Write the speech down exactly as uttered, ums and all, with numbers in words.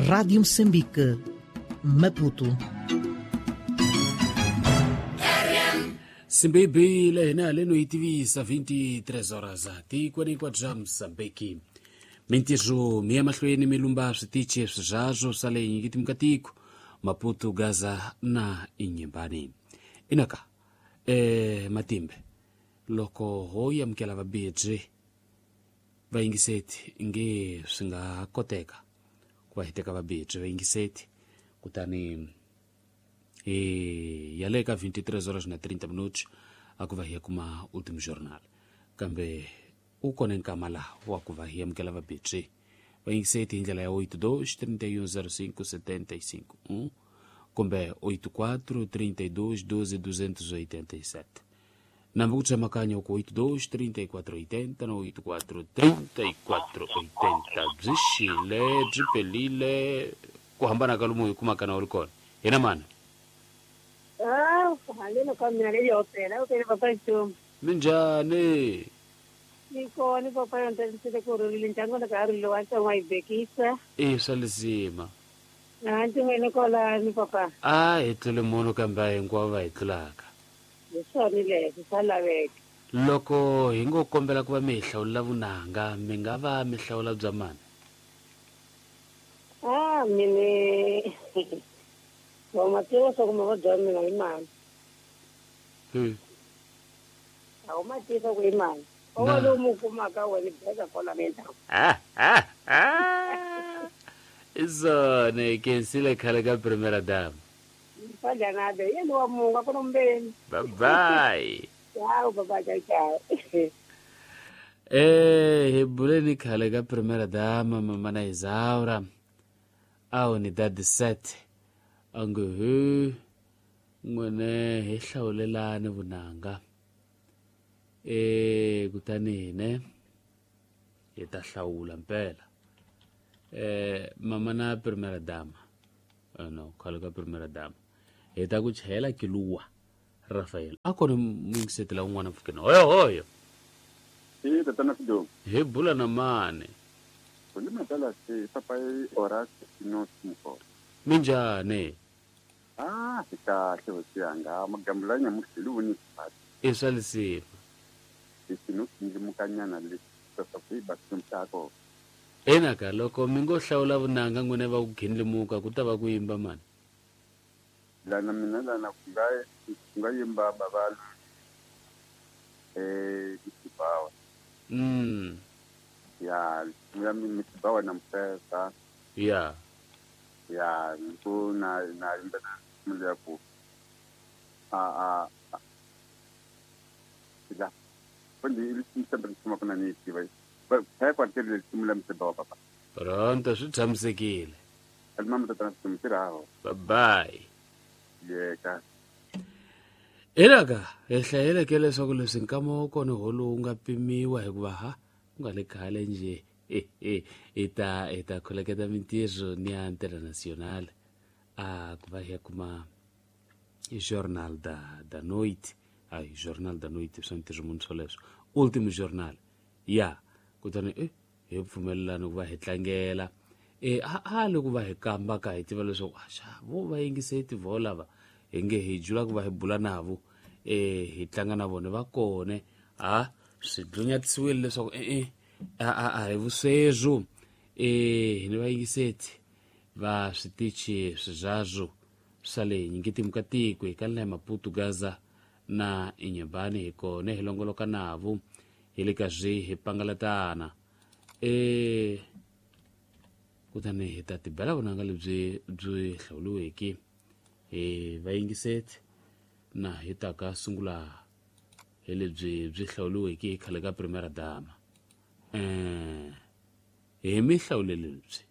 Rádio Moçambique, Maputo. Simbebile hina leno yi tivisa vinte e três horas tikweni hinkwabyo bya Mozambique. Mintirho mi ya mahlweni mi lumba switichi swizazwo swa le nyikiti ka tiko Maputo, Gaza na Inhambane. Inaka eh matimbe loko ho amukela vabedzi vayingiseti nge swi nga koteka ku va hi teka vabedzi vayingiseti kutani e ya le ka vinte e três horas na trinta minutos a ku va hi ya kuma Último Jornal, kambe u kona nkama laha wa ku va hi amukela vabedzi vayingiseti hi ndlela ya oito dois trinta e um zero cinco setenta e cinco um kumbe oito quatro trinta e dois doze duzentos e oitenta e sete. Nambe ku tsemakanya ku oito dois trinta e quatro oitenta na oito quatro trinta e quatro oitenta. Byi xile byi pelile ku hambana ka lomu hi kumaka na u ri kona hina mani. Ah, haleno ka mina leyi opela, opela papa Ntombi. Minjhani? Ni kona papa, yonte ku rhulile ndyangu ka ha ri wa ntsongo yi bekisa. I swa lisima. Na ntin'wini kolani papa. A hi tlule munhu kambe a hinkwavo va hi tlulaka. Hi swona leswi swa laveka. Loko hi ngo kombela ku va mi hi hlawulela vunanga, mi nga va mi hlawula bya mani? Ah, mine wa ma tiva swa ku mavabyi ya mina hi mani. Hmm. A wu ma tiva ku hi mani. O Na. Lowu mu kumaka wena beka kwala mindhawu. Ah, ah, ah. I swona hi khensile khale ka primera dama. Fadyanade yena wa mungu a ku nombeni. Bye bye. Ciao papa, ciao ciao. Eh, hi buleni khale ka primera dama mama na Isaura a unidade sete a nge he n'wene hi hlawulelani vunanga eh kutani hine hi ta hlawula mpela eh mama na primera dama. Eh, no khale ka primera dama hi ta ku chayela kiluwa Rafael a kona muyingisetela un'wana mpfhukeni hoyo hoyo. I tatana Sidomu. Hi bula na mani? Kuli matala se papa i Horas Sinos Mukolo. Minjhani? Ah, hi kahle hosi yanga, magambu la nyamuhla hi luvoni xipati. I swa lisima. Hi xino ndlimukanyana lexi leswaku hi ba kona. Enaka loko mi ngo hlawula vunanga n'wina va ku gindlimuka ku ta va ku yimba mani? Lana mina lana ku nga ku nga yimba bava eh Misibawa. mm Ya, ya Misibawa na Mfesa. Ya. Ya, ku na na yimba na ya ku a a la kundi ili sempre kuma kuna ni tiva ba pa kwa tele simula Misibawa papa. Pronto, swi tshamisekile. Alima tatana Sidomu tirhaho. Bye bye. Yeka. Elaka hi hlayeleke leswaku leswi nkama wa kona ho lowu nga pimiwa hikuva ha ku nga le khale njhe hi ta hi ta kholeketa mintirho ni ya international a ku va hi ya kuma Jornal da da Noite, hayi Jornal da Noite swa ntirho munhu swoleswo Último Jornal ya kutani e hi pfumelelana ku va hi tlangela e a a le ku va hi kamba ka hi tiva leswaku axa vo va yingiseti vo lava hi nge hi jula ku va hi bula navo e hi tlanga na vona va kone a swi dlunyatisiwile leswaku e-e a a a hi vuswezwo e hi ni vayingiseti va switichi swizazwo swa le nyingitimu ka tiko hi ka la Maputo, Gaza na Inhambane hi kona hi longoloka navo hi le ka zwi hi pangalatana e kutani hi ta tibela vunanga lebyi byi hlawuriweke hi vayingiseti na hi ta ka sungula hi lebyi byi hlawuriweke hi khale ka primera dama eh hi mi hlawulele lebyi.